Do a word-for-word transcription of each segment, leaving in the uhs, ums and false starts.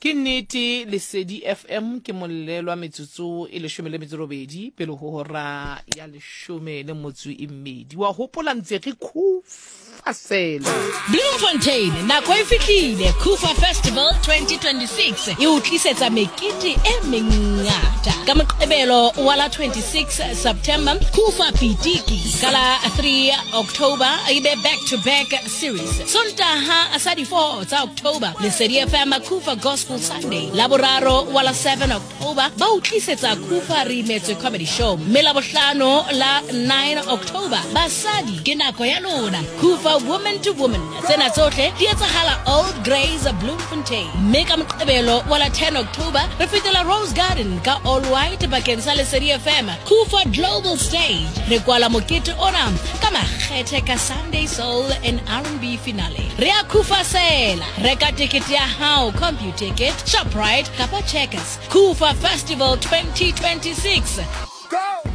Ke nnete Lesedi F M ke mollelwa metsotso e leshome le metso robedi pele ho hora ya leshome le motso e mmedi. Wa hopola ntse re khufasela. Bloemfontein, nako e fihlile. Kufa Festival twenty twenty-six e o tlisetsa mekete e mengata. Ka Moqebelo wa la twenty-six September, Kufa Pitiki. Ka la three October, e be back to back series. Sontaha sa di four tsa October, Lesedi F M Kufa Gospel Sunday. Laboraro wa la seven October, ba o tlisetsa Kufa Re Imetswe Comedy Show. Mme Labohlano la nine October, basadi ke nako ya lona. Kufa Woman to Woman. Tsena tsohle di etsahala Old Grays Bloemfontein. Mme ka Moqebelo wa la ten October, re fetela Rose Garden ka All White bakeng sa Lesedi F M. Kufa Global Stage. Re kwala mokete ona ka makgethe ka Sunday Soul and R and B finale. Re a Kufa sela. Reka tekete ya hao, Computicket, Shoprite kapa Checkers. Kufa Festival twenty twenty-six.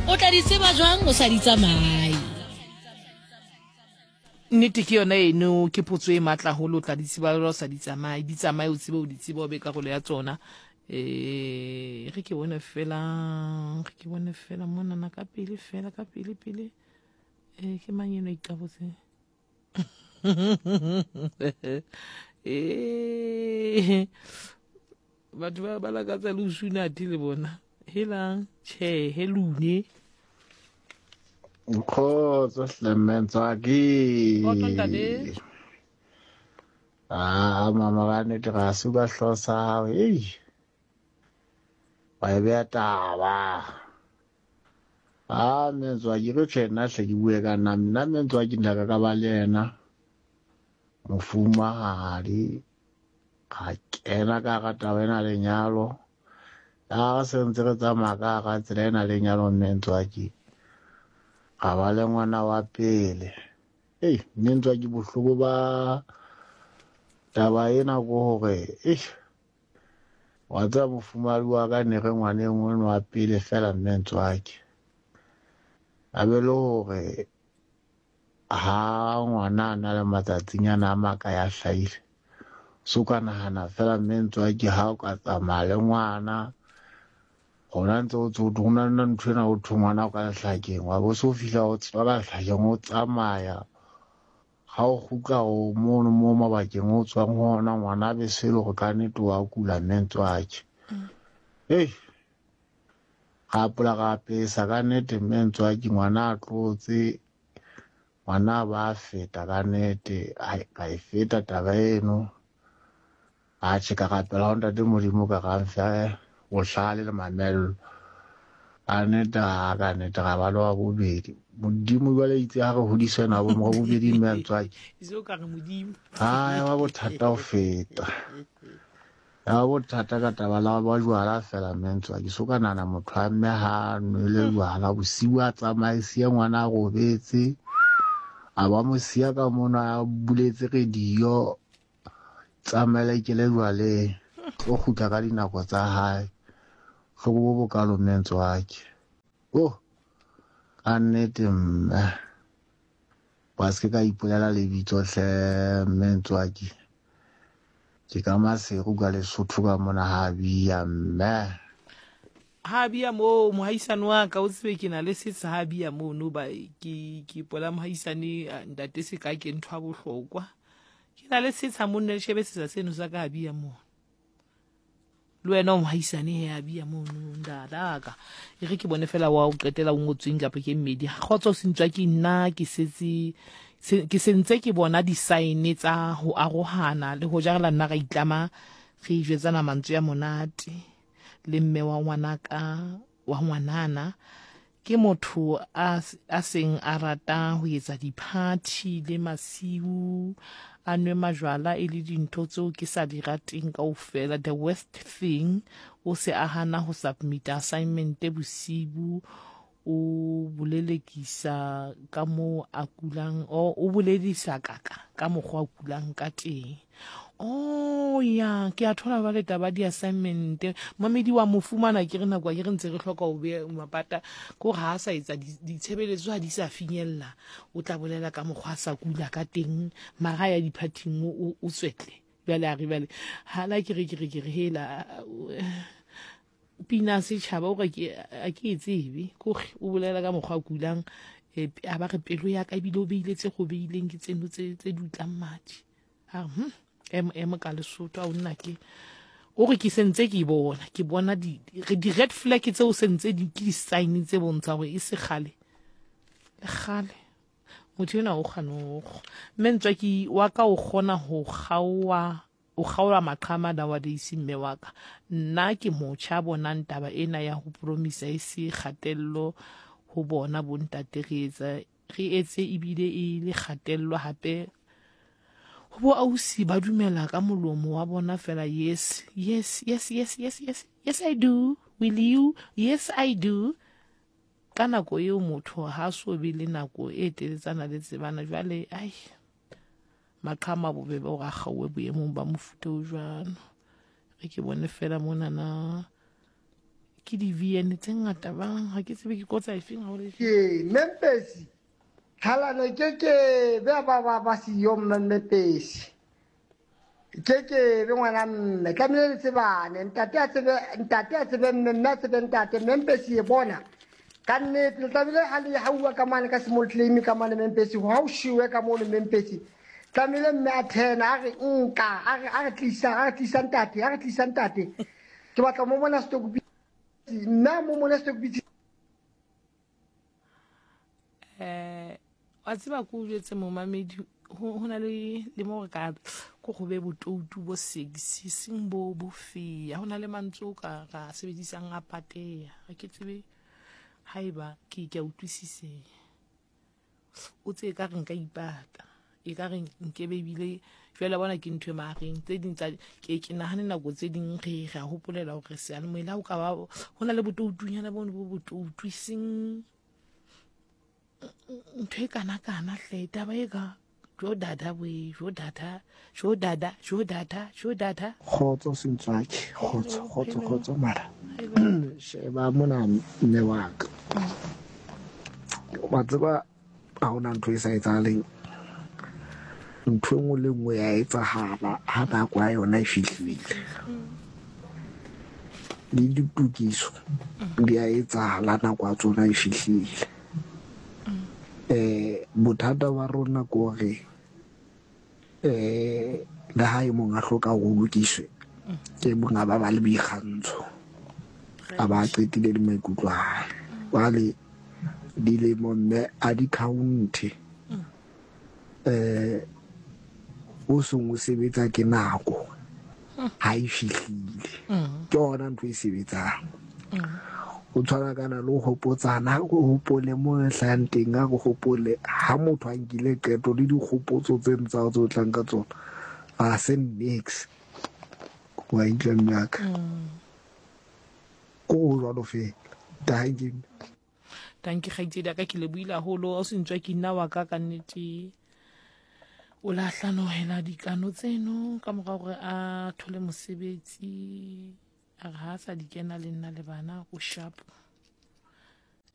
O tla di tseba jwang o sa di tsamaye? Nnete ke yona eno, ke potso e matla haholo, o tla di tseba jwang o sa di tsamaye? Di tsamaye o tsebe o di tsebe, o be karolo ya tsona. Eh, re ke bone fela, re ke bone fela monana ka pele fela, ka pele pele. Eh, ke mang eno a iqabotse? Eh, batho ba ba lakatsa le ho suna athe le bona. Helang, tjhe, helune. Kgotso hle mme Ntswaki. Kgotso ntate. Ah, mama ka nnete ga se ba hlosa hao. Ei. Wa e beha taba. Ah, mme Ntswaki, re tjhe nna hle ke bue ka nna. Nna mme Ntswaki nna ka ka ba le yena. Mofumahadi. Ka kena ka hara taba ena lenyalo. Ya re se ntse re tsamaya ka hara tsela ena lenyalo mme Ntswaki. Ra ba le ngwana wa pele. Ei, mme Ntswaki bohloko ba taba ena ke hore, eish, wa tseba mofumahadi wa ka ne re ngwaneng ono wa pele fela mme Ntswaki. A be le hore ha ngwana a na le matsatsinyana a makae a hlahile, so ka nahana fela mme Ntswaki ha o ka tsamaya le ngwana, hona ntse o tso ho na le ntho ena ho thwe ngwana o ka lehlakeng, wa bo so fihla o tswa ka lehlakeng o tsamaya. Ha o kgutla o mono mo mabakeng o tswang ho ona, ngwana a be se le hore ka nnete wa kula mme Ntswaki. Hei, ra apola ra apesa ka nnete mme Ntswaki, ngwana a tlotse, ngwana a ba feta ka nnete, ai, ka e feta taba eno. Atjhe, ka rapela ho ntate Modimo ka ra mfe bohlale le mamello. Ka nnete, ha ka nnete ra ba le wa bobedi. Modimo jwale itse ha re hodiswe ena bo wa bobedi mme Ntswaki. Itse o ka re Modimo. Ha, ya ba bothata ho feta. Ya ba bothata ka taba la ba jwala fela mme Ntswaki. So ka nahana motho a mme ha nwele jwala bosiu a tsamaye siya ngwana a robetse. A ba mo siya ka mona a buletse radio. Tsamaela ikele jwaleng. O kgutla ka dinako tsa hae. Hloko bo bokalo mme Ntswaki. Oh, ka nnete mme. Wa se ke ka ipolela lebitso hle mme Ntswaki. Ke ka Maseru ka Lesotho ka mona ha bia mme. Ha bia moo mohaisane wa ka o tsebe ke na le setsha ha bia mono ba ke ke ipola mohaisane ntate se ka ke ntho ya bohlokwa. Ke na le setsha monna le shebe setsha seno sa ka ha bia mono. Le wena o mohaisane he a bia mono ndadaka. E re ke bone fela wa o qetela o ngotsweng kapa ke mmedi. Kgotso se ntswa ke nna ke setse ke sentse ke bona di-sign tsa ho arohana le ho jarela nna ra itlama re jwetsana mantswe ya monate le mme wa ngwanaka wa ngwanana. Ke motho a, a seng a rata ho etsa di-party le masiu, a nwe majwala e le dintho tseo ke sa di rateng kaofela. The worst thing, o se a hana ho submit assignment bosibu, o bolelekisa ka moo a kulang, o, o boledisa kaka ka mokgwa a kulang ka teng. Oh ya, ke a thola ba le taba di assignment. Mamedi wa mo fumana ke re nako ke re ntse re hloka ho be mapata, ko ha sa etsa ditshebeletso ha di sa finyella, o tla bolela ka mokgwa a sa kula ka teng, mara ya diphathing o, o tswetle. Bjale a re bjale hala ke re ke re ke re hela pina setšhaba o re ke a ke e tsebe kore o bolela ka mokgwa a kulang eh, a ba re pelo ya ka ebile o beile tse go beileng ke tseno tse tse dutlang madi a re hm em em ka Lesotho a o nna ke o re ke sentse ke bona ke bona di di red flag tseo sentse di ke di sign tse bontshang gore e se kgale le kgale motho enwa o kganogo mme ntswa ke wa ka o kgona ho kgaowa o kgaola maqhama nowadays mme wa ka nna ke motjha bonang taba ena ya ho promisa e se kgatello ho bona bontate re etsa re etse ebile e le kgatello hape ho bo ausi ba dumela ka molomo wa bona fela yes yes yes yes yes yes yes I do will you yes I do ka nako eo motho ha so be le nako e teletsana le tsebana jwale ai maqhama bobebe hore a kgaowe boemong ba mofuta o jwalo re ke bone fela monana ke di-V N tse ngata bang ha ke tsebe ke kotsa efeng ha o le Ke Mempesi tlhalano ke ke be ba ba ba siyo Mmempesi ke ke be ngwana mme tlamehile le tsebane ntate a tsebe ntate a tsebe mme mme a tsebe ntate Mmempesi e bona ka nnete le tlamehile ha le hauwa ka mane ka small claim ka mane Mmempesi ha o shiwe ka mono Mmempesi tlamehile mme a thena a re nka a re a re tlisa a re tlisa ntate a re tlisa ntate ke batla mo mona stokbitsi nna mo mona stokbitsi. Eh wa tseba ko o jwetse momamedi ho ho na le le mo re ka ko go be botoutu bo sexy seng bo bo feya ho na le mantswe o ka ra sebedisang a pateya ha ke tsebe haeba ke ke a utlwisiseha o tse ka re nka ipata e ka re nkebe ebile jwale bona ke ntho e mahareng tse ding tsa ke ke nahane nako tse ding re re a hopolela hore seyalemoya le ha o ka ba ho na le botoutunyana bono bo botoutu eseng ntho e kana-kana hle taba e ka jo dada we jo dada jo dada jo dada jo dada. Kgotso Sentswaki, kgotso kgotso kgotso mara sheba mona mme wa ka wa tseba ha hona ntho e sa etsahaleng ntho e nngwe le nngwe ya etsahala ha nako ya yona e fihlile le ditokiso di a etsahala nako ya tsona e fihlile eh bothata ba rona ke hore eh le ha e mong a hloka ho lokiswe ke mong a ba ba le boikgantsho a ba qetile le maikutlo a hae jwale dilemo mme a di count eh o seng o sebetsa ke nako ha e fihlile ke yona ntho e sebetsang o tshwana kana le ho hopotsana o hopole mo re hlahang teng a re hopole ha motho a nkile qeto le dikgopotso tse tsa tse o tlang ka tsona ha se nix wa utlwa mme wa ka ko ho jwalo fela dankie. Dankie kgaitsedi ya ka ke lebohile haholo o se ntswa ke nna wa ka ka nnete o la hlanohela dikano tseno ka mora hore a thole mosebetsi a re ha a sa di kena le nna le bana o sharp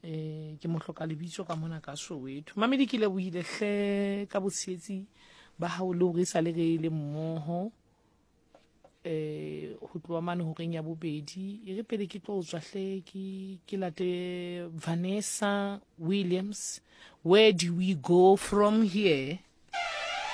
eh ke mo hloka lebitso ka mona ka Soweto mamedi ke lebohile hle ka botshehetsi ba hao le hore e sale re le mmoho eh ho tloha mane horeng ya bobedi e re pele ke tlo tswa hle ke ke late Vanessa Williams. Where do we go from here?